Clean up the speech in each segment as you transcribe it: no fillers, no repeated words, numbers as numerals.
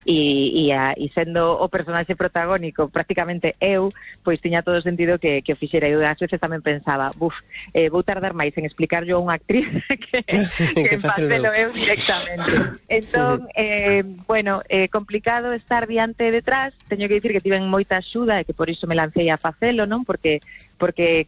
e sendo o personaxe protagónico prácticamente eu, pois tiña todo o sentido que o fixera. Eu ás veces tamén pensaba, vou tardar máis en explicarlo a unha actriz que en facelo eu directamente. Entón, bueno, complicado estar diante e detrás. Teño que dicir que tiven moita axuda e que por iso me lancei a facelo, non? Porque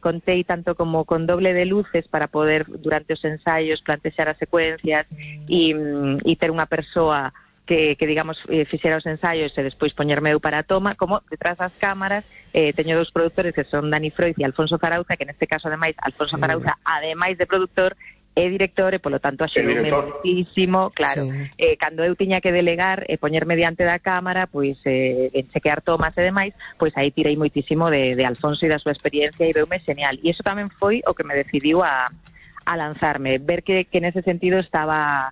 contei tanto como con doble de luces para poder durante os ensaios plantexar as secuencias e ter unha persoa que digamos, fixera os ensaios e despois poñerme eu para a toma, como detrás das cámaras teño dous produtores que son Dani Froiz e Alfonso Zarauza, que neste caso, ademais, Alfonso Zarauza, ademais de productor, é director e, polo tanto, axudoume muchísimo, claro. Sí. Cando eu tiña que delegar e poñerme diante da cámara, pois, en chequear tomas e demais, pois aí tirei moitísimo de Alfonso e da súa experiencia e veume genial. E iso tamén foi o que me decidiu a lanzarme, ver que nese sentido estaba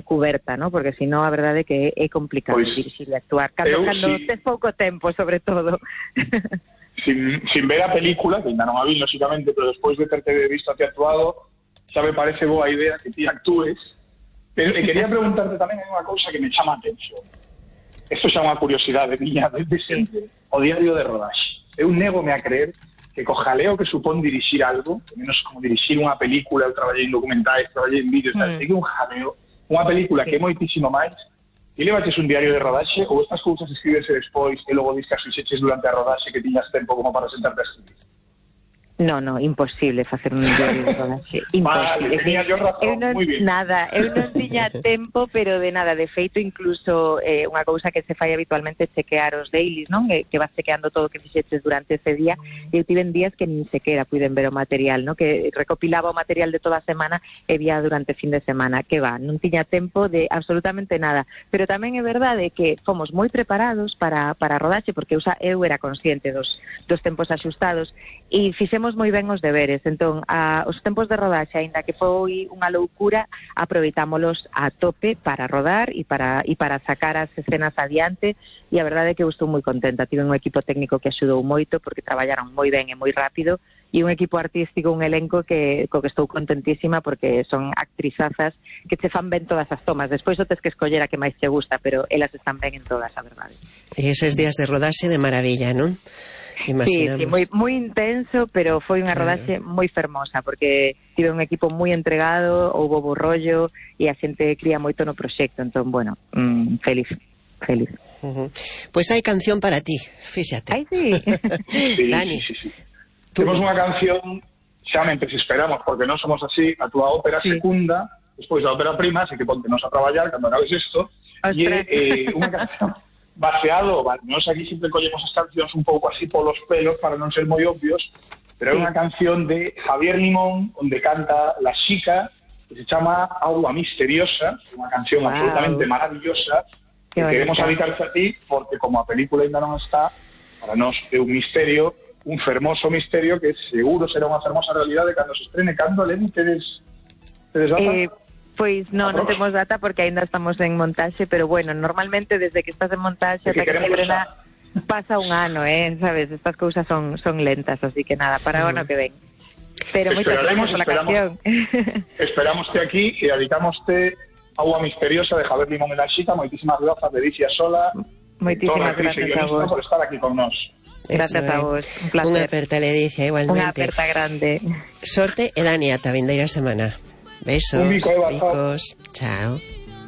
cuberta, ¿no? Porque si no, a verdade é que é complicado dirixir e actuar cando tes pouco tempo, sobre todo. Sin ver a película, que ainda non a vi, lógicamente, pero despois de terte visto a ti actuado, xa me parece boa idea que ti actúes. Pero quería preguntarte tamén hai unha cousa que me chama a atención. Isto xa é unha curiosidade miña desde sempre, o diario de rodaxe. Eu négome a creer que co jaleo que supón dirixir algo, menos como dirixir unha película, eu traballei en documentais, traballei en vídeos, é que un jaleo, unha película que é moitísimo máis, e levaches un diario de rodaxe ou estas cousas escribese despois e logo discas fixeches durante a rodaxe que tiñas tempo como para sentarte a escribir? No, imposible facer un diario de rodaxe. Imposible. Vale, tenía yo razón, moi bien. Nada, eu non tiña tempo, pero de nada. De feito, incluso unha cousa que se fai habitualmente é chequear os dailies, non? Que vas chequeando todo o que fixeches durante ese día. Eu tiven días que nin sequera puiden ver o material, non? Que recopilaba o material de toda a semana e vía durante fin de semana. Que va, non tiña tempo de absolutamente nada. Pero tamén é verdade que fomos moi preparados para a rodaxe, porque eu era consciente dos tempos axustados e fixemos moi ben os deberes. Entón, os tempos de rodaxe, aínda que foi unha loucura, aproveitámolos a tope para rodar e para sacar as escenas adiante, e a verdade é que eu estou moi contenta. Tive un equipo técnico que axudou moito porque traballaron moi ben e moi rápido, e un equipo artístico, un elenco co que estou contentísima porque son actrizazas que che fan ben todas as tomas. Despois o tes que escoller a que máis te gusta, pero elas están ben en todas, a verdade. E eses días de rodaxe de maravilla, non? Sí, moi intenso, pero foi unha rodaxe moi fermosa, porque tive un equipo moi entregado, houbo bo rollo e a xente cría moito no proxecto, entón, bueno, feliz. Pois hai canción para ti, fíxate. Ai, sí. Dani. Sí. Temos unha canción, xa mentres esperamos, porque non somos así, a túa ópera secunda, despois da ópera prima, así que pontenos a traballar cando acabes isto, e unha canción baseado, nós aquí sempre collemos as cancións un pouco así polos pelos para non ser moi obvios, pero é unha canción de Javier Limón onde canta La Xica, que se chama Agua Misteriosa, unha canción absolutamente maravillosa que queremos dedicarte a ti porque como a película ainda non está, para nós é un misterio, un fermoso misterio que seguro será unha fermosa realidade cando se estrene. Cando, Eleni, tedes data? Pois non temos data porque aínda estamos en montaxe, pero bueno, normalmente desde que estás en montaxe ata que se estrena pasa un ano, sabes, estas cousas son lentas, así que nada, para o ano que ven. Pero moitas gracias pola canción. Esperamos que aquí e dedicámoste Agua Misteriosa de Javier Limón e La Xica. Moitísimas grazas, Delicia Sola. Moitísimas gracias a vos por estar aquí con nós. Gracias a vos, un placer. Unha aperta, Ledicia, igualmente. Unha aperta grande. Sorte e Dani, ata vindeira semana. Besos, bicos, chao.